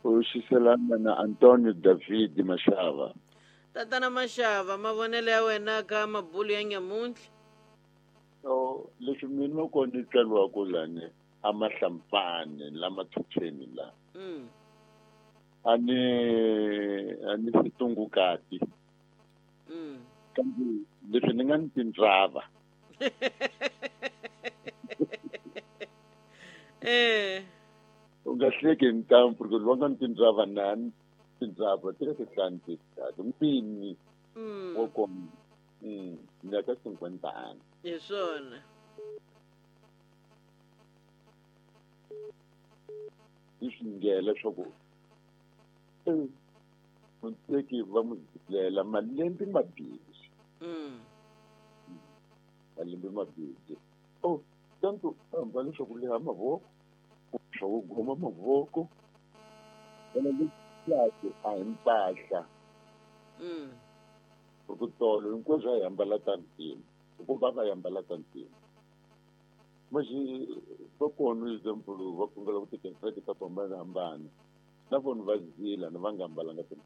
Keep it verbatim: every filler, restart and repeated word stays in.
U xiselana na Antonio David Mashava. Tatana Mashava, mavonelo ya wena ka mabulu ya nyamuntlha? So leswi mina ko ni tswariwaka lani a Mahlampfani la Mathuthweni la. Mm. A ni a ni situngukati. Mm. Kambe leswi ni nga ni tindzava. Eh. U nga hleki ntampfu ku loko ni tindzava na tindzava ti ka tihlanu titatu mpini Mm. wo koma. Mm, ni ya ka cinquenta. Hi swona. Yi swi ngela leswaku eh muteki va mu zilela malembe mabirhi. Mm. Malembe mabirhi. Oh, tanto ambala leswaku leha mavoko, swa ku goma mavoko. Vona leswaku a hi mpahla. Mm. Ku tolo hinkwaswo a hi ambala ta ntima. Hikuva va hi ambala ta ntima. Manje va kona example va khongela ku tikereke ta ku hambanahambana. Na vona va zila na va nga ambalanga ti.